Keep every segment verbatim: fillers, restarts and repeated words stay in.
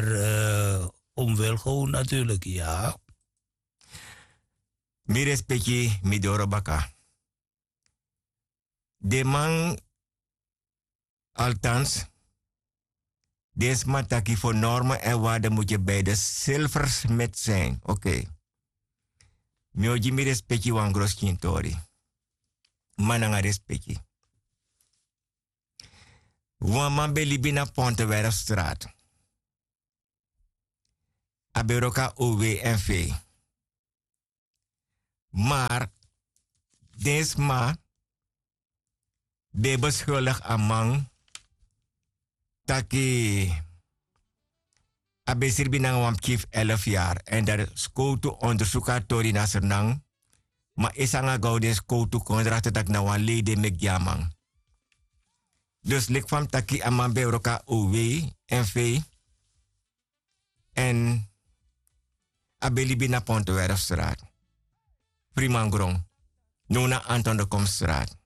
Maar omwel gewoon natuurlijk, ja. Mi respeki mi doro baka. Den man, altans, den sma taki fu norme en waarde mutye bij de silversmit zijn. Oké. Mi o gi mi respeki wan groskintori. Man nanga respeki. Wan man ben libi na Pontewerfstraat. A ben wroko na O W N V. Maar den sma ben beskuldig a man taki a ben sribi nanga wan pikin fu elf yari èn dan skowtu ondersuku a tori na Sranan. Ma esi nanga gaw den skowtu kon drakti taki na wan lei den meki gi a man. Dus leki fa mi taki a man ben e wroko na O W N V èn a ben libi na Pontewerfstraat, Frimangron, now na Anton de Komstraat.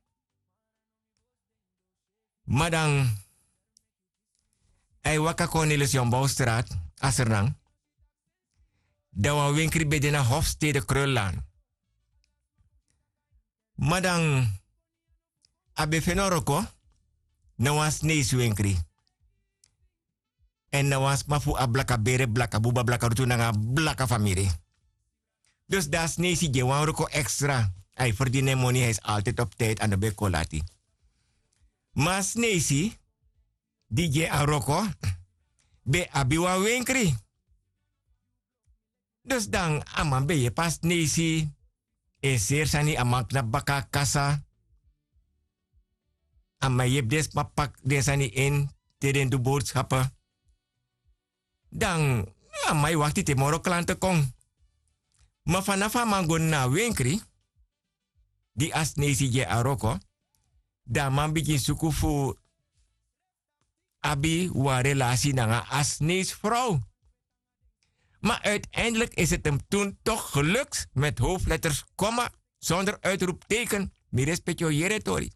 Ma dan a e waka Cornelis Jombouwstraat, a Sranan. Dan wan wenkri ben de na Hofstede Krullaan. Ma dan a ben feni wroko na wan Sneisi wenkri. Èn na wan sma fu a blaka bere, blaka buba, blaka rutu nanga blaka famiri. Dus dan a Sneisi gi en wan wroko extra. A e ferdini en moni, a is altijd op tijd, a no ben kon lati. Ma a Sneisi di gi en a wroko ben abi wan wenkri. Dus dan a man ben yepi a Sneisi en seri sani, a man knapu baka a kasa. A man yepi den sma paki den sani ini te den du boodschappen. Dan a man e wakti te moro klanten kon. Ma fanafu a man go na a wenkri di a Sneisi gi en a wroko, dan a man bigin suku fu abi wan relasi nanga a Sneisi frow. Ma uiteindelijk is het hem toen toch gelukt, met hoofdletters, komma, zonder uitroepteken. Mi respeki o yere tori.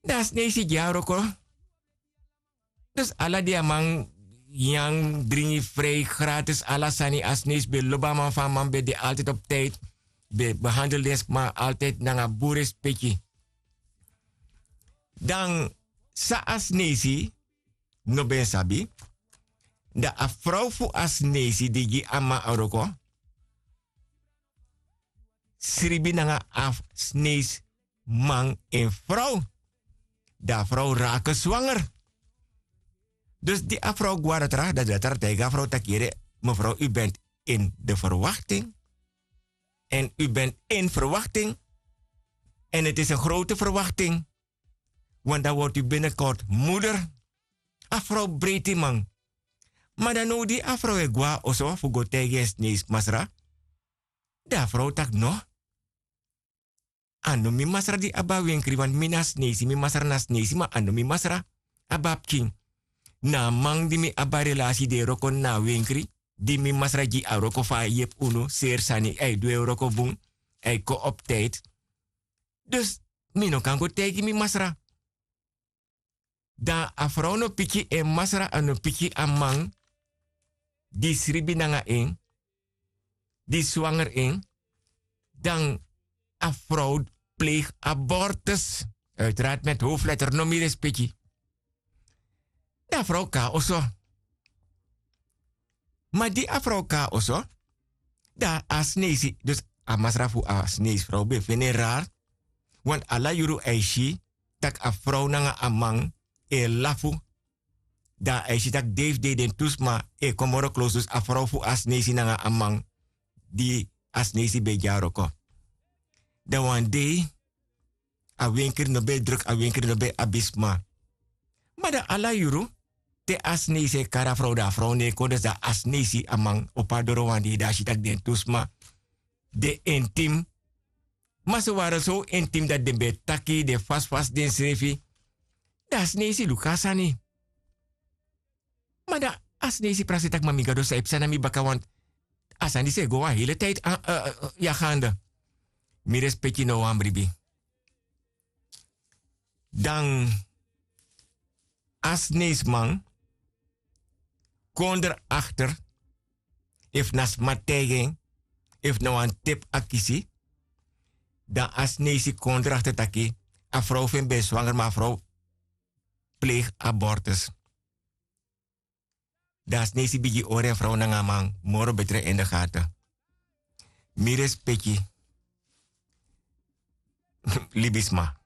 Dan a Sneisi gi en a wroko. Dus ala di a man nyan, dringi, vrij, gratis, ala sani, a Sneisi ben lobi a man, fa a man ben de altijd op tijd, ben behandel den sma altijd nanga bun respeki. Dan san a Sneisi no ben sabi, dan a frow fu a Sneisi di gi a man a wroko sribi nanga a Sneisi man en frow. Dan a frow rake swanger. Dus di a frow gwaratra, dan datra taigi a frow taki: yere, mevrouw, u bent in de verwachting. En u bent in verwachting. En het is een grote verwachting. Want dan wordt u binnenkort moeder. A frow breiti man. Ma dan now di a frow e gwe na oso fu go taigi en Sneisi masra, dan a frow taki: no, a no mi masra di abi a wenkri, want mi na Sneisi, mi masra na Sneisi, ma a no mi masra abi a pikin. Na a man di mi abi a relasi, di e wroko na a wenkri, di mi masra gi a wroko fu a yepi unu, seri sani, a e du en wroko bun, a e kon op tijd. Dus mi no kan go taigi mi masra. Dan a frow no piki en masra, a no piki a man di sribi nanga en, di swanger en, dan a frow pleeg abortus. Uiteraard met hoofdletter, no mi respeki. Dan a frow kon na oso. Ma di a frow kon na oso, dan a Sneisi, dus a masra fu a Sneisi frow ben feni en rari. Want ala yuru a e si tak' a frow nanga a man e lafu. Dan a e si tak' dei fu dei den tu sma e kon moro close, dus a frow fu a Sneisi nanga a man di a Sneisi ben e gi a wroko. Dan wan dei, a wenkri no ben e druk, a wenkri no ben e abi sma. Ma dan ala yuru, te a Sneisi e kari a frow, dan a frow no e kon, dus dan a Sneisi, a man opo a doro wan dei, dan a si tak' den tu sma de intiem. Ma ze waren zo intiem dat den ben e taki, den fasi fasi densrefi. Dan a Sneisi luku a sani. Ma dan a Sneisi prakseri tak' ma mi Gado, san e psa na mi baka, want a sani disi e go wan hele tijd, ya gaande. Mi respeki no wan bribi. Dan a Sneisiman kon dra akter, efu na sma taigi en, efu na wan tep a kisi, dan a sneisi kon dra akter taki a frow fu en ben swanger ma a frow pleigi abortus. Dan a sneisi bigin hori en frow nanga a man moro betre en de gate. Mi respeki libisma.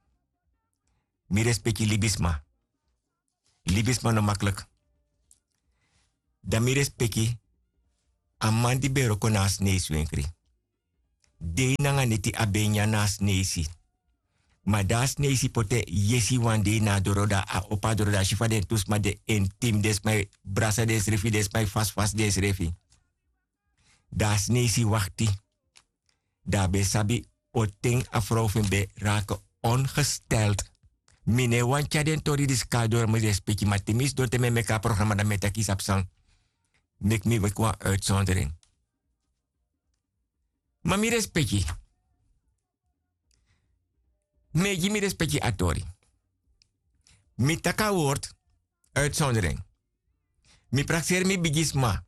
Mi respeki libisma. Libisma no maklik. Dan mi respeki a man di ben wroko na a sneisi wenkri. Dei nanga neti a ben nyan na a sneisi. Ma dan a sneisi poti en yesi wan dei na a doro dan a opo a doro dan a si fa den tu sma de intimi den sma e brasa densrefi den sma e fasifasi densrefi. Dan a sneisi wakti. Dan a ben sabi o ten a frow fu en ben rake ongesteld. Mi no e wani tyari den tori disi kon na doro mi respeki ma te mi sidon te mi e meki a programa dan mi e taki yu sabi san. Meki mi meki wan uitsondering. Ma mi respeki. Mi e gi mi respeki a tori. Mi taki a wortu uitsondering. Mi prakseri mi bigisma.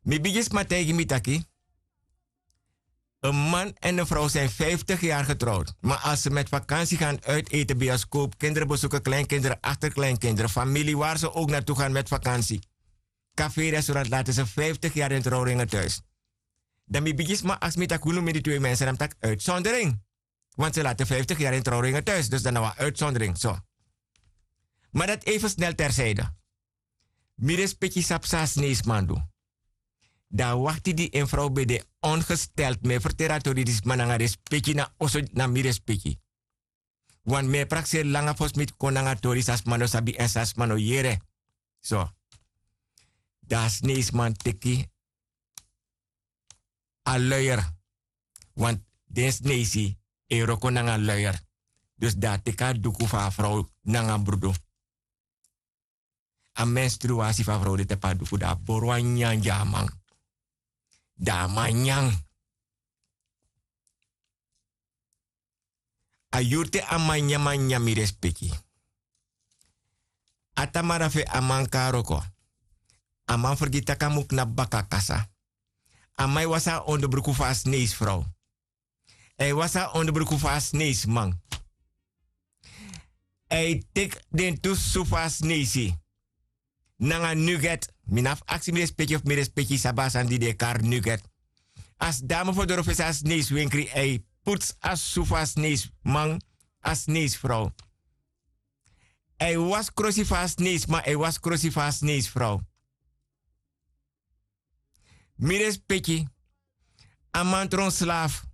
Mi bigisma taigi mi taki en man en en frow sin vijftig yari getrowd ma as se met vakansi gan uiteten bioskop kinderen besuken kleinkinderen akterkleinkinderen famili wari se ok natu gan met vakansi. Kaferi a surati laten se vijftig yari en trowringen tuis. Dan mi bigisma aksi mi taki unu mi di twe mense dan mi taki uitsondering. Want se laten vijftig yari en trowringen tuis dus dan na wan uitsondering so. Ma dati even snel tersijde. Mi respeki sabi san a sneisman du. Dan a wakti di en frow ben de ongesteld mi e ferteri a tori di sma nanga respeki na oso na mi respeki. Wan mi e prakseri langa fosi mi kon nanga tori san sma no sabi èn san sma no yere. So. Dan a sneisman teki a luyer. Wan den sneisi e wroko nanga luyer. Dus dan a teki a duku fu a frow nanga brudu. A menstruasi fu a frow de tapu a duku dan a bori wan nyan gi a man. Dan a man nyan. A yuru te a man nyan man nyan mi respeki. A tamara fu en a man kon na wroko. A man fergiti tak' a mu knapu baka na kasa. A man e wasi a onderbruku fu a sneisi frow. A e wasi a onderbruku fu a sneisi man. A e teki den tu susu fu a sneisi nanga nuget. Mi no abi fu aksi mi respeki efu mi respeki sabi a sani di den e kari nuget. A sidon na mofo doro fesi a sneisi wenkri a e putsu a susu fu a sneisi man, a sneisi frow. A e wasi krosi fu a sneisi man a e wasi krosi fu a sneisi frow. Mi respeki. A man tron slafu.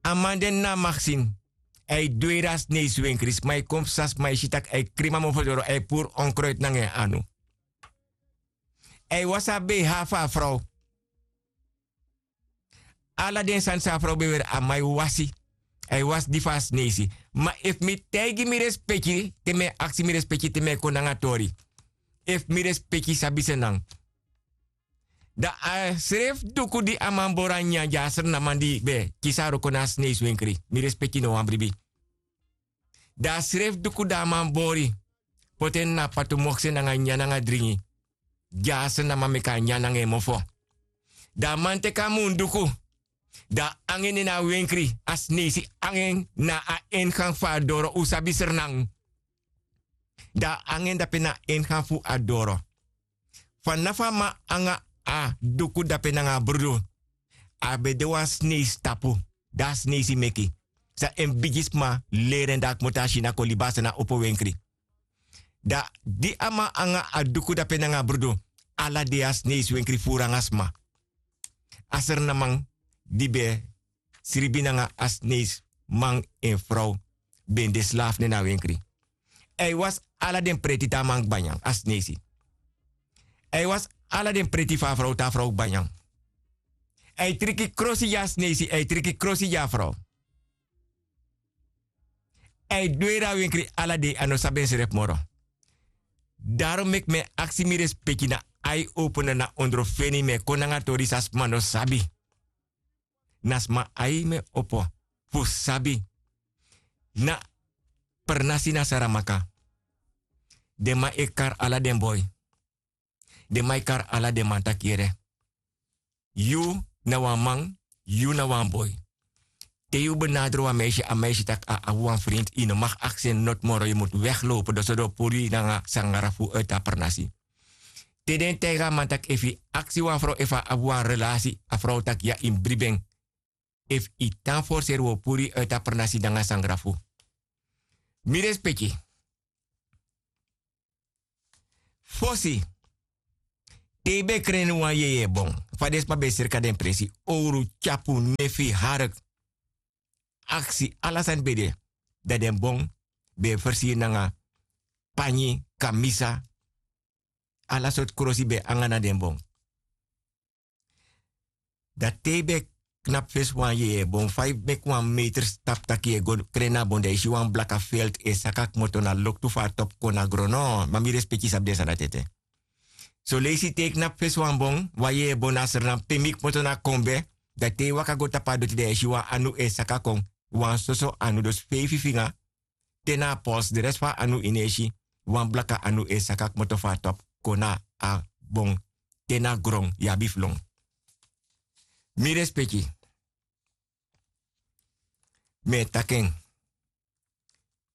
A man de na a maksin. A e dweri a sneisi wenkri sma e kon psa sma e si tak' a e krimi a mofo doro a e puru onkroiti nanga en anu. A e wasi a beiha fu a frow. Ala den sani san a frow ben weri a man e wasi. A e wasi di fu a sneisi. Ma efu mi taigi mi respeki te mi e aksi mi respeki te mi e kon nanga tori. Efu mi respeki sabi senan. Dan a srefi duku di a man bori a nyanyan gi a srnaman di ben kisi a wroko na a sneisi wenkri. Mi respeki no wan bribi. Dan a srefi duku di a man bori poti en na a patu mokse nanga nyanyan nanga dringi. Gi a srnaman meki a nyanyan nanga en mofo. Dan a man teki a munduku. Dan a angi en ini a wenkri a sneisi angi en na a ingang fu a doro un sabi srnan. Dan a angi en dape na a ingang fu a doro. Fanafu a man anga a duku dape nanga a brudu. A ben de wan sneisi tapu. Dan a sneisi meki san en bigisma leri en dan a kmoto a si na kon libi a sani a opo wenkri. Dan di a man anga a duku dape nanga a brudu ala dei a sneisi wenkri furu nanga sma. A srnaman di ben sribi nanga a sneisi man en frow ben de slafu nen na a wenkri. A e wasi ala den preti te a man kba nyan a sneisi. A e wasi ala den preti fu a frow te a frow kba nyan. A e triki krosi gi a sneisi a e triki krosi gi a frow. A e dweri a wenkri ala dei a no sabi ensrefi moro. Darom meki mi e aksi mi respeki na ai opene na ondrofeni mi e kon nanga tori san sma no sabi. Na sma ai mi e opo fu sabi. Na pernasi na saramaka. Den man e kari ala den boi. Den man e kari ala den man taki yere, yu na wan man, yu na wan boi. Te yu benadru wan meisi, a meisi taki a abi wan frinti, yu no maki aksi en noti moro, yu mutu weglopu doso den o puru yu nanga sangara fu uiti a pernasi. Te den taigi a man taki efu yu aksi wan frow efu a abi wan relasi, a frow taki ya, yu mus bribi en. Efu yu tan forseri wi o puru yu uiti a pernasi nanga sangara fu. Mi respeki. Fosi, te yu ben kreni wan yeye bon, fa den sma ben srika den presi, owru, tyapu, nefi, hark, aksi, ala sani ben de. Dan den bon ben e fersiri nanga panyi, kamisa, ala sortu krosi ben e nanga na den bon. Dan te yu ben knapu fesi wan yeye bon, fa yu meki wan meter stapu taki yu e go kreni a bon, dan yu si wan blaka felti e saka kmoto na loktu fu a topu kon na gron. No, ma mi respeki, sabi den sani dati ete. Soleisi te yu knapu fesi wan bon, wan yeye bon na Sranan, pe mi kmoto na Kombe, dan te yu waka go tapu a doti dan yu e si wan anu e saka kon, wan soso anu, dus feifi finga, te na a pols, de resi fu a anu yu no e si, wan blaka anu e saka kmoto fu a topu kon na a bon, te na gron, yu abi fu lon. Mi respeki. Mi e taki en.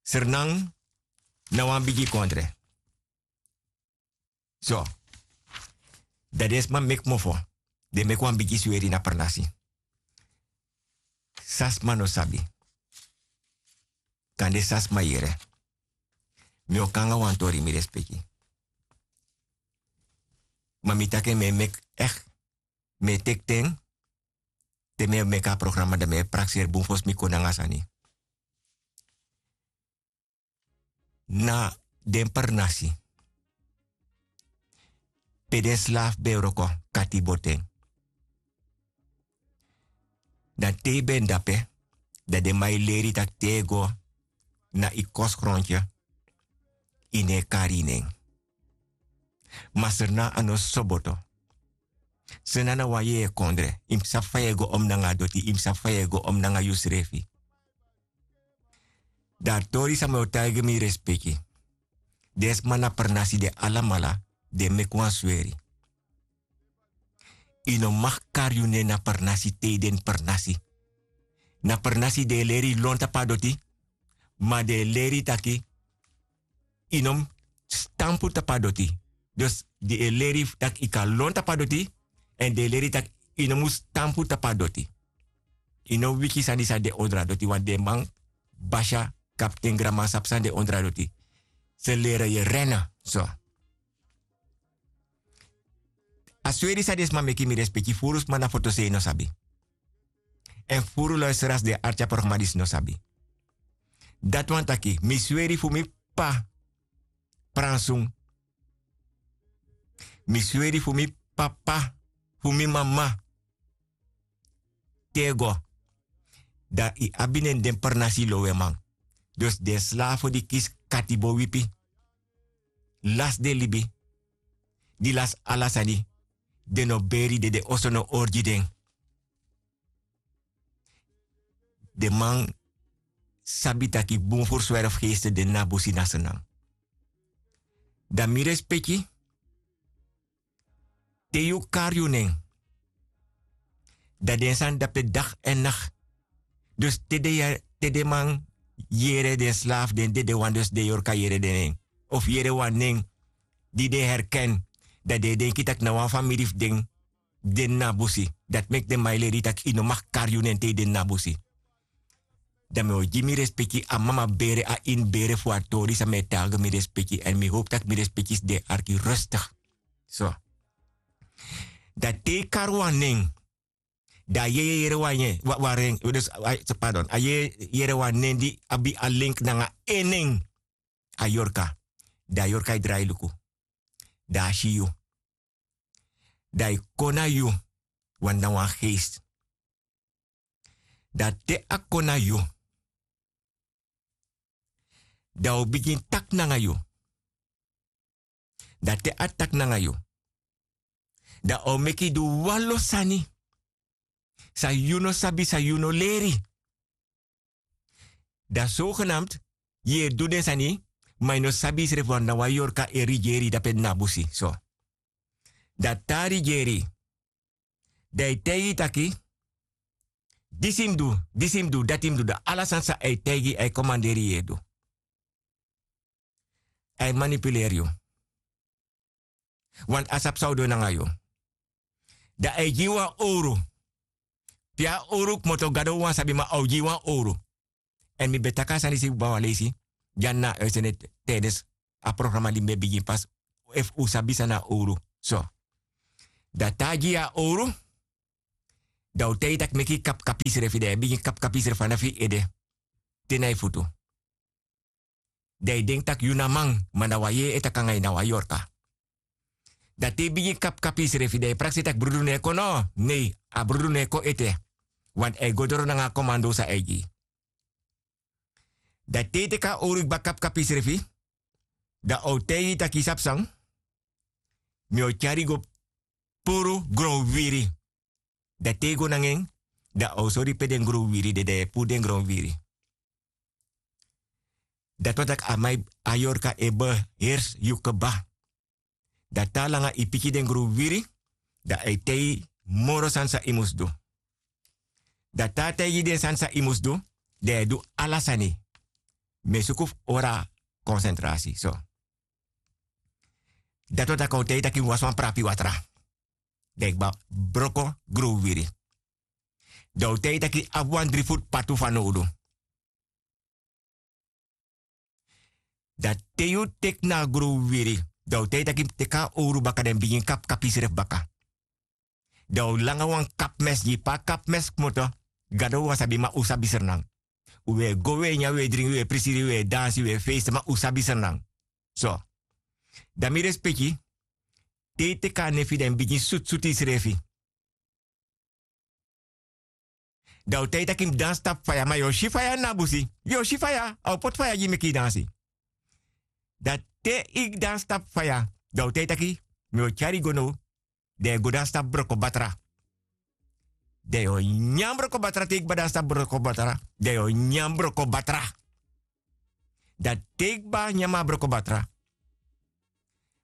Sranan na wan bigi kondre. So, dan den sma meki mofo, den meki wan bigi sweri na pernasi. San sma no sabi, kande san sma yere. Mi o kon nanga wan tori, mi respeki. Ma mi taki en, mi e meki, echt, mi e teki ten, te mi e meki a programa, dan mi e prakseri bun fosi mi kon nanga sani. Na den pernasi, pe den slafu ben e wroko katibo ten. Dan te yu ben de ape, dan den man e leri yu taki te yu go na yu kosgrontu, yu no e kari yu nen. Ma Sranan a no soboto. Sranan na wan yeye kondre. Yu mus sabi fa yu e go om nanga a doti, yu mus sabi fa yu e go om nanga yusrefi. Dan a tori san mi o taigi, mi respeki. Den sma na pernasi, den alamala, den meki wan sweri. Yu no mag kari yu nen na pernasi te yu de ini pernasi. Na pernasi den e leri yu lon tapu a doti, ma den e leri yu taki yu no mus stampu tapu a doti. Dus den e leri yu taki yu kan lon tapu a doti, èn den e leri yu taki yu no mus stampu tapu a doti. Yu no wiki sani san de ondro a doti, want den man, basya, kapten, granman sabi san de ondro a doti. Se leri yu rena so. A sweri san den sma meki, mi respeki, furu sma na fotosei no sabi. Èn furu luisteraars, den e arki a programa disi, no sabi. Dati wani taki, mi sweri fu mi p'pa Pransun. Mi sweri fu mi p'pa, fu mi mama. Te yu go, dan yu abi nen den pernasi loweman. Dus den slafu di kisi katibo wipi, lasi den libi, di lasi ala sani, den no beri, den, den oso no hori gi den. Den man sabi taki bun fu swerfgeesten de ini a busi na Sranan. Dan mi respeki, te yu kari yu nen, dan den sani de ape dag èn nakti. Dus te den, te den man yere, den slafu, den dedewan, dus den yorka yere den nen, of yere wan nen di den herken, dan den e denki taki na wan famiri fu den de ini a busi. Dati meki den man e leri yu taki yu no mag kari yu nen te yu de ini a busi. Dan mi o gi mi respeki a mama bere, a ini bere fu a tori san mi e taigi, mi respeki, èn mi howpu taki mi respeki si den e arki rustig. So. Dan te yu kari wan nen, dan a yeye yere wan nen, wa-, wan ren-, dus, a, pardon, a yeye yere wan nen di abi a link nanga en nen, a yorka. Dan a yorka e drai luku. Dan a si yu. Dan a e kon na yu, wan na wan geest. Dan te a kon na yu, dan a o bigin taki nanga yu. Dan te a taki nanga yu, dan a o meki yu du wan lo sani san yu no sabi, san yu no leri. Dan zogenaamd yu e du den sani, ma yu no sabi yusrefi, want na wan yorka e rigeri yu de ape ini a busi. So. Dan te a rigeri, dan a e taigi yu taki, disi mus du, disi mus du, dati mus du, dan ala sani san a e taigi yu, a e komanderi yu e du. A e manipuleri yu. Want a sabi san a o du nanga yu. Dan a e gi yu wan owru. Pe a owru kmoto, Gado wan sabi, ma a o gi yu wan owru. Èn mi ben taki a sani disi kba wan leisi, dyani na a uitzending, tijdens a programa di mi ben bigin pas, efu un sabi san na owru. So. Dan te a gi yu a owru, dan a o taigi yu taki meki yu kapkapi yusrefi, dan yu e bigin kapkapi yusrefi fanafu yu ede te na yu futu. Dan yu denki tak' yu na man, ma na wan yeye e taki nanga yu, na wan yorka. Dan te yu bigin kapkapi yusrefi, dan yu prakseri tak' brudu no e kon, no, nei, a brudu no e kon ete. Want a e go doro nanga a komando san a e gi. Dan te yu teki a owru kba kapkapi yusrefi, dan a o taigi yu tak' yu sabi san, mi o tyari yu go puru gronwiri. Dan te yu go nanga en, dan a o sori yu pe den gronwiri de, dan yu e puru den gronwiri. Dati wani taki a man, a yorka e beheersi yu kba. Dan te a langa yu piki den gronwiri, dan a e taigi yu moro sani san yu mus du. Dan te a taigi yu den sani san yu mus du, dan yu e du ala sani. Mi e suku fu hori a konsentrasi, so. Dati wani taki a o taigi yu taki yu mus wasi wan prapi watra. Dan yu kba broko gronwiri. Dan a o taigi yu taki yu abi wan dri futu patu fanowdu. Dan te yu teki na a gronwiri, dan a o taigi yu taki teki a owru baka, dan bigin kapkapi yusrefi baka. Dan a o langa wan kapmes gi yu, pe a kapmes kmoto, Gado wan sabi, ma un sabi Sranan. Un e go, un e nyan, un e dringi, un e prisiri, un e dansi, un e feisi, ma un sabi Sranan. So. Dan mi respeki, te yu teki a nefi, dan yu bigin sutu sutu yusrefi. Dan a o taigi yu taki mus dansi tapu faya, ma yu o si faya na a busi. Yu o si faya, a o poti faya gi yu meki yu dansi. Dan te yu dansi tapu faya, dan a o taigi yu taki mi o tyari yu go now, dan yu e go dansi tapu broko batra. Dan yu o nyan broko batra, te yu kba dansi tapu broko batra, dan yu o nyan broko batra. Dan te yu kba nyan a broko batra,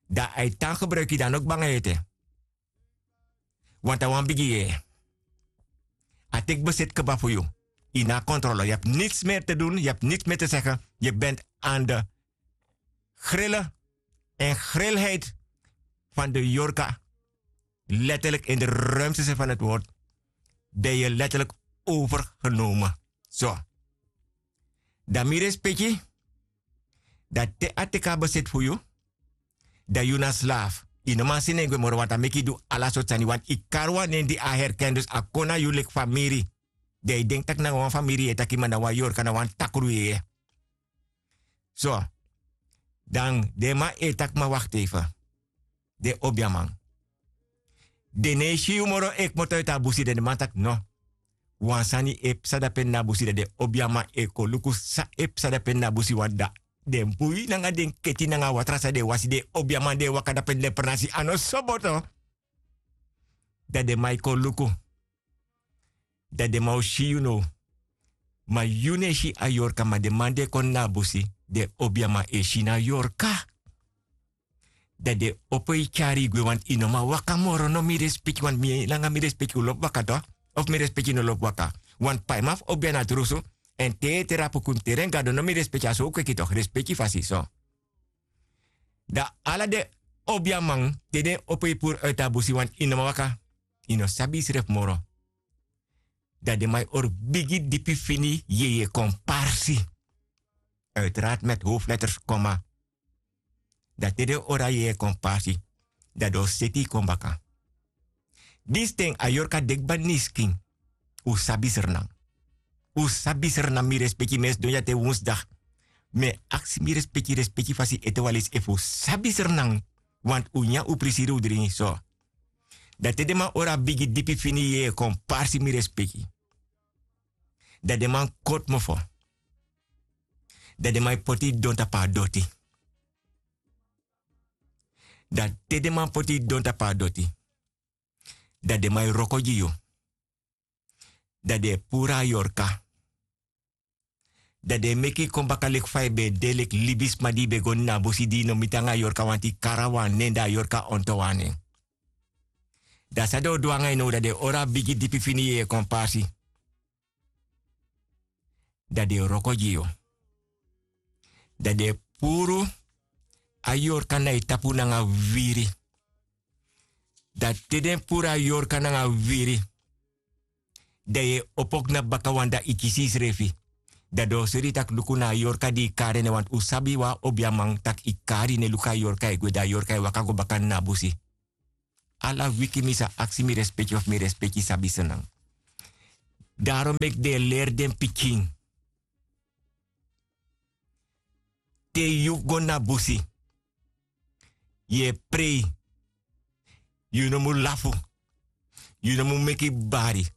dan a e tan gebruiki, dan a no kba nanga yu ete. Want a wan bigi yeye. A teki bezit kba fu yu. Yu no abi controle. Je hebt niets meer te doen, je hebt niets meer te zeggen. Je bent aan de grillen en grilheid van de yorka. Letterlijk in de ruimste zin van het woord. Ben je letterlijk overgenomen. So. Dan mi respeki, dan te a teki a bezit fu yu, dan yu na slaaf. Yu no man seni en gwe moro, want a meki yu du ala sortu sani, want yu kari wan nen di a herken, dus a kon na yu leki famiri. Dan yu denki tak' nanga wan famiri yu e taki, ma na wan yorka, na wan takru yeye. So, dan den man e taki, ma wakti even. Den obiaman. Den no e si yu moro e kmoto uit a busi, dan den man taki no. Wan sani e psa dape na a busi, dan den obiaman e kon luku san e psa dape na a busi, want dan den bui nanga den keti nanga a watra san den wasi, den obiaman, den e waka dape, den pranasi a no soboto. Dan den man e kon luku. Dan den man o si yu now. Ma yu no e si a yorka, ma den man di e kon na a busi, den obiaman e si na yorka. Dan den opo yu tyari yu gwe, want yu no man waka moro, no mi respeki, want mi langa mi respeki, un lobi waka toch? Of mi respeki no lobi waka? Want paiman fu obia na drusu, èn te yu e trapu kun teren Gado, no mi respeki, a so un kweki toch, respeki fasi so. Dan ala den obiaman, te den opo yu puru uit a busi, want yu no man waka, yu no sabi yusrefi moro. Dan den man e hori bigi dipi fini yeye komparsi. Uiteraard met hoofdletters, komma. Dan te den hori a yeye komparsi, dan den o seti yu kon baka. Disi ten a yorka de kba na yu skin. Un sabi Sranan. Un sabi Sranan, mi respeki, mi e sidon ya te wonsdag. Mi e aksi mi respeki, respeki fasi ete wan leisi efu un sabi Sranan. Want un nyan, un prisiri, un dringi so. Dan te den man hori a bigi dipi fini yeye komparsi, mi respeki, dan den man koti mofo. Dan den man e poti yu don tapu a doti. Dan te den man poti yu don tapu a doti, dan den man e wroko gi yu. Dan den e puru a yorka. Dan den e meki yu kon baka leki fa yu ben de, leki libisma di yu ben go na a busi, di yu no miti nanga a yorka, want yu kari a wan nen, dan a yorka onto wan nen. Dan san den o du nanga yu now, dan den e hori a bigi dipi fini yeye kon pasi. Dan den e wroko gi yu. Dan den e puru a yorka na yu tapu nanga wiri. Dan te den puru a yorka nanga wiri, dan yu e opo knapu baka wan, dan yu kisi yusrefi. Dan den o sori yu tak' luku na a yorka di yu kari en, want un sabi wan obiaman tak' yu kari en e luku a yorka e gwe, dan a yorka e waka go baka na a busi. Ala wiki mi sa aksi mi respeki of mi respeki sabi Sranan. Daro meki den e leri den pikin. Te yu go na busi, yu e prei. Yu no mu lafu. Yu no mu meki bari.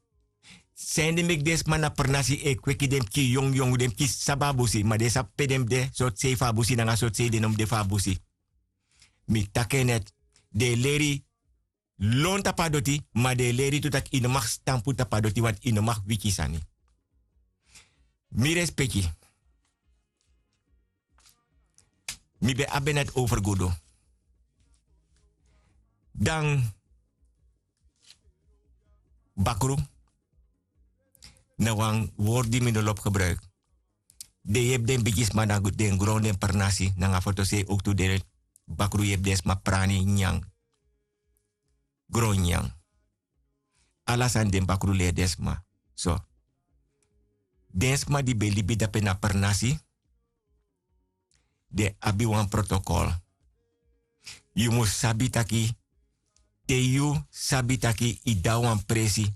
San ede meki den sma na pernasi e kweki den pikin yongu yongu, den pikin sabi a busi, ma den sabi pe den mus de, sortu sei fu a busi nanga sortu sei den no mus de fu a busi. Mi taki en net, den e leri lon tapu a doti, ma den e leri tu tak' yu no mag stampu tapu a doti, want yu no mag wiki sani. Mi respeki. Mi ben abi en net over gudu. Dan bakru, na wan wortu di mi no lobi gebruiki. Den yepi den bigisma na den gron, den pernasi nanga fotosei, owktu den bakru yepi den sma prani nyan. Gron nyan. Ala sani den bakru leri den sma. So, den sma di ben libi dape na pernasi, den abi wan protokol. Yu mus sabi taki, te yu sabi taki yu de na wan presi,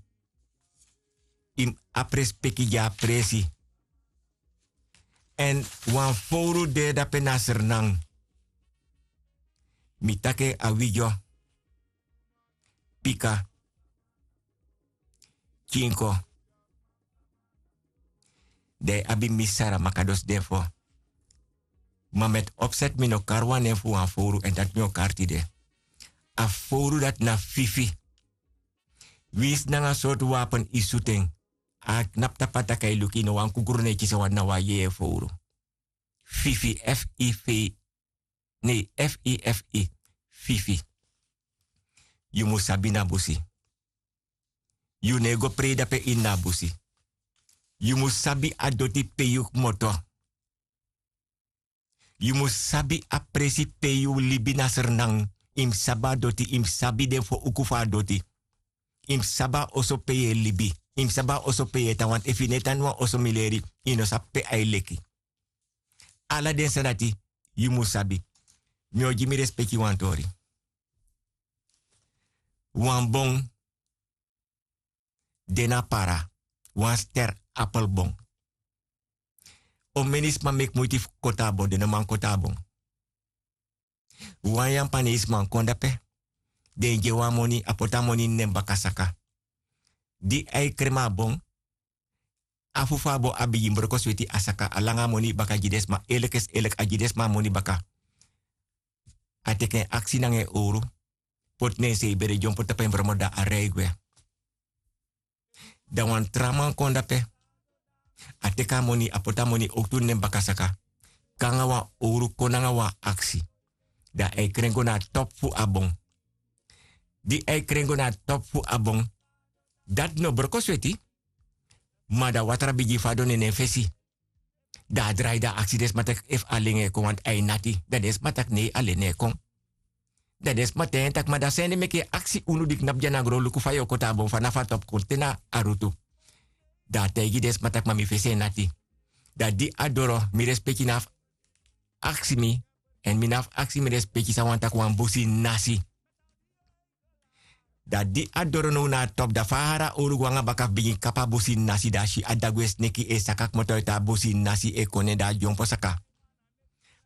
yu mus abi respeki gi a presi. Èn wan fowru de dape na Sranan. Mi taki en: Awidyo, Pika, Kinko. Dan yu abi Misi Saramaka, dus den fo. Ma met opset mi no kari wan nen fu wan fowru, èn dati mi o kari tide. A fowru dati na Fifi. Winsi nanga sortu wapen yu sutu en, a knapu tapu a taki, yu luku, yu no wani kukru na yu kisi, wan na wan yeye fowru. Fifi, F I F I. Nei, F I F I. Fifi. Yu mus sabi na busi. Yu no e go prei dape ini a busi. Yu mus sabi a doti pe yu kmoto. Yu mus sabi a presi pe yu libi na Sranan. Yu mus sabi a doti, yu mus sabi den fo uku fu a doti. Yu mus sabi a oso pe yu e libi. Yu mus sabi a oso pe yu e tan, want efu yu no e tan na wan oso, mi leri, yu no sabi pe a e leki. Ala den sani dati yu mus sabi. Mi o gi mi respeki wan tori. Wan bon de na Para, wan Ster Appelbon. Omeni sma meki muiti fu koti a bon, den no man koti a bon. Wan Yapanesi man kon dape, den gi en wan moni, a poti a moni ini en baka saka. Di a e krema a bon, afu fu a bon a bigin broko sweti, a saka, a langa a moni baka gi den sma, elek is elek, a gi den sma a moni baka. A teki en aksi nanga en owru, poti na en sei bere, dyompo tapu en bromo, dan a rei gwe. Dan wan tra man kon dape. A teki a moni, a poti a moni owktu ini en baka saka. Kon nanga wan owru, kon nanga wan aksi. Dan a e kren go na a topu fu a bon. Di a e kren go na a topu fu a bon, dati no broko sweti, ma dan watra bigin fadon na en fesi. Dan a drai, dan a aksi den sma taki efu alen e kon, want a e nati. Dan den sma taki nei, alen no e kon. Dan den sma taigi en taki: Ma dan san ede meki yu e aksi unu di knapu dya na gron luku fa yu o koti a bon fanafu a topu kon te na a rutu? Dan a taigi den sma taki: Ma mi fesi e nati. Dan di a doro, mi respeki no abi fu aksi mi, èn mi no abi fu aksi mi respeki san wani taki wan busi nasi. Dan di a doro now na a topu, dan fa a hari a owru go nanga baka fu bigin kapu a busi nasi, dan a si a dagu e sneki e saka kmoto uiti a busi nasi e kon na en, dan a dyompo saka.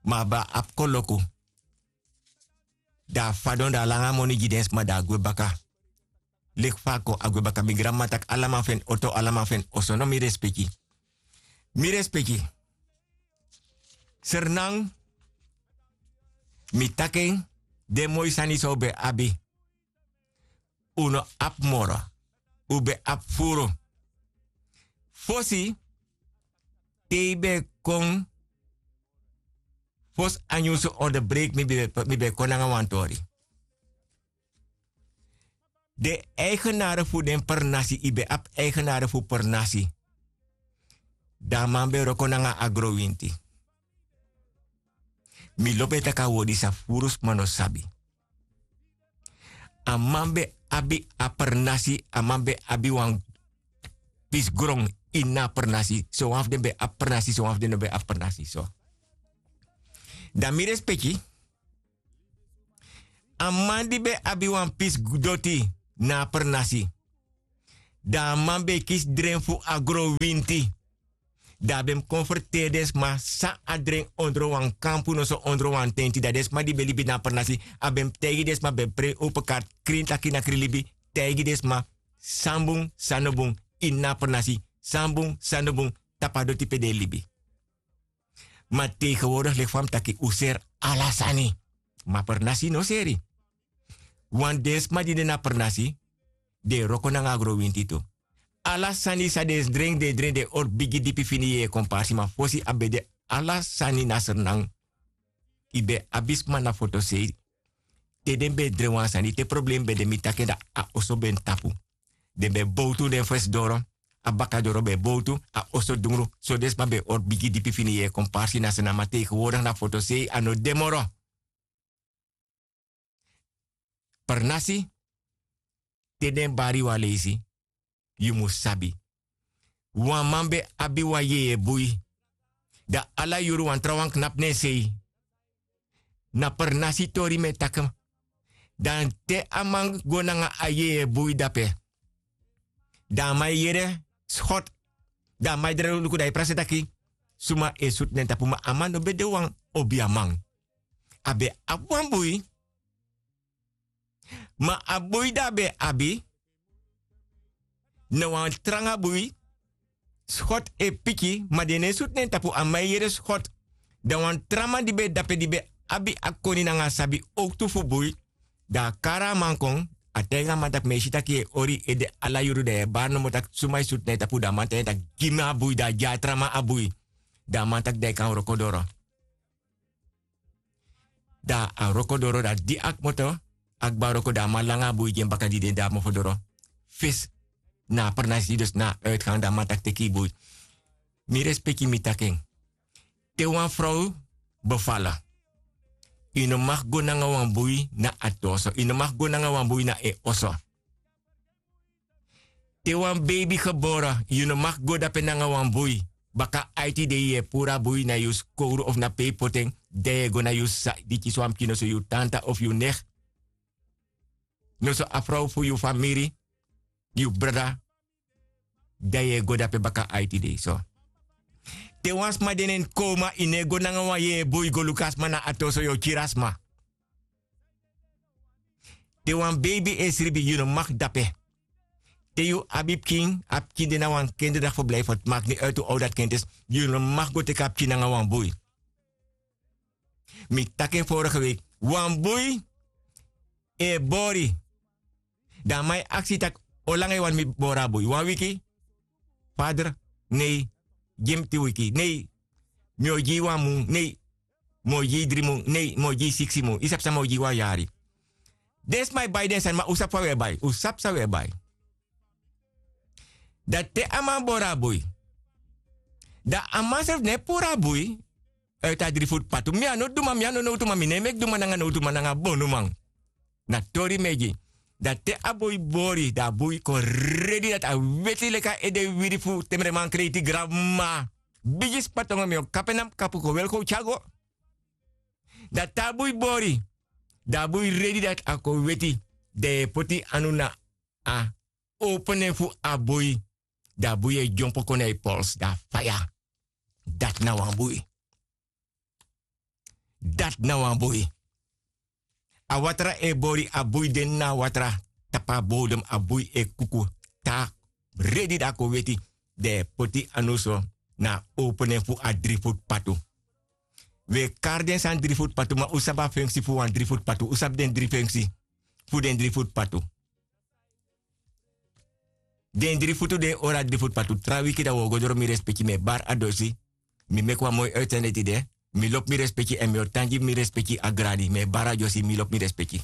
Ma a ben abi koloku. Dan a fadon, dan a langa a moni gi den sma, dan a gwe baka. Leki fa a kon, a gwe baka. Mi granmama taki: Ala man fu en oto, ala man fu en oso. No, mi respeki. Mi respeki. Sranan, mi taki en, den moi sani san un ben abi, un no abi moro. Un ben abi furu. Fosi, te yu ben kon, fosi a nyunsu onderbreek, mi ben, mi ben kon nanga wan tori. Den eigenare fu den pernasi, yu ben abi eigenare fu pernasi. Dan a man ben wroko nanga agrowinti. Mi lobi e taki a word disi a furu sma no sabi. A man ben abi a pernasi, a man ben abi wan pisi gron ini a pernasi. Sowan fu den ben abi pernasi, sowan fu den no ben abi pernasi so. Dan mi respeki, a man di ben abi wan pisi doti na a pernasi, dan a man ben e kisi dren fu agrowinti. Dan a ben mus kon ferteri den sma san a dren ondro wan kampu noso ondro wan tenti, dan den sma di ben libi na a pernasi, a ben mus taigi den sma, ben prei open karti, krin taki na krin libi, taigi den sma san bun, san no bun ini a pernasi, san bun, san no bun tapu a doti pe den e libi. Ma tegenwoordig leki fa mi taki, un seri ala sani. Ma pernasi no seri. Wan den sma di de na pernasi, den e wroko nanga agrowinti tu. Ala sani san den dren, den dren, den e hori bigi dipi fini yeye komparsi, ma fosi a ben de ala sani na Sranan. Yu ben abi sma na fotosei, te den ben dren wan sani, te problem ben de, mi taki en, dan a oso ben tapu. Den ben bowtu den fesi doro, a baka doro ben bowtu, a oso dungru, so den sma ben hori bigi dipi fini yeye komparsi na Sranan. Ma tegenwoordig na fotosei, a no de moro. Pernasi, te den bari yu a leisi, yu mus sabi. Wan man ben abi wan yeye bui. Dan ala yuru wan trawan knapu na en sei. Na pernasi tori mi e taki. Dan te a man go nanga a yeye bui dape, dan a man e yere skot. Dan a man e drai luku, dan a e prakseri taki suma e sutu na en tapu. Ma a man no ben de wan obiaman. A ben abi wan bui. Ma a bui di a ben abi, na wan tranga bui. Skot e piki, ma den no e sutu na en tapu, a man e yere skot. Dan wan tra man di ben de dape, di ben abi a koni nanga a sabi owktu fu bui, dan a kari a man kon, a taigi a man taki, mi e si taki yu e hori ede ala yuru, dan yu e bari nomo taki suma e sutu na en tapu. Dan a man taigi en taki gi mi a bui, dan a gi a tra man a bui. Dan a man taki dan yu kan wroko doro. Dan a wroko doro, dan di a kmoto, a kba wroko, dan a man langa a bui gi en baka di de na mofo doro. Fesi na a pernasi, dus na a uitgang, dan a man taki teki yu bui. Mi respeki, mi taki en. Te wan frow befala, yu no mag go nanga wan bui na a tu oso, yu no mag go nanga wan bui na en oso. Te wan beibi gebore, yu no mag go dape nanga wan bui. Baka aiti dei yu e puru a bui na yu skowru of na pe yu poti en, dan yu e go na yu sisa di kisi wan pikin, noso yu tanta of yu negi, noso a frow fu yu famiri, yu brada, dan yu e go dape baka aiti dei so. Te wan sma de na en koma, yu no e go nanga wan yeye bui go luku a sma na a tu oso, yu o kiri a sma. Te wan beibi e sribi, yu no mag dape. Te yu abi pikin, a pikin de na wan kinderdag fu blijfu, het maakt niet uit hoe oud dat kind is, yu no mag go teki a pikin nanga wan bui. Mi taki en vorige week, wan bui e bori. Dan a man e aksi taki, olanga yu wani mi bori a bui? Wan wiki? Vader, nee. Gi mi tin wiki. Nee. Mi o gi yu wan mun. Nee. Mi o gi yu dri mun. Nee. Mi o gi yu siksi mun. Yu sabi san, mi o gi yu wan yari. Den sma e bai den sani, ma un sabi fa un e bai. Un sabi san un e bai. Dan te a man bori a bui, dan a man srefi no e puru a bui uit a dri futu patu. Mi a no duman, mi a no nowtuman, mi no e meki duman nanga nowtuman nanga bonuman. Na tori mi e gi. Dan te a bui bori, dan a bui kon redi dati a weti leki a ede wiri fu temreman kreiti granma. Bigi spatongo, mi o kapu en na mi kapu, kon weri kon tyari go. Dan te a bui bori, dan a bui redi dati a kon weti. Dan yu e poti anu na a opo nen fu a bui. Dan a bui e dyompo kon na yu pols, dan a faya. Dati na wan bui. Dati na wan bui. A watra e bori, a bui de na a watra, tapu a bodem, a bui e kuku. Te a redi, dan a kon weti, dan yu e poti anu so na a opo nen fu a dri futu patu. Wi e kari den sani dri futu patu, ma un sabi a fenksi fu wan dri futu patu? Un sabi den dri fenksi fu den dri futu patu? Den dri futu, den e hori a dri futu patu. Tra wiki dan wi o go doro, mi respeki, mi e bari a dosi. Mi meki wan moi uitzending tide. Mi lobi mi respeki, èn mi o tan gi mi respeki a gradi. Mi e bari a dosi, mi lobi mi respeki.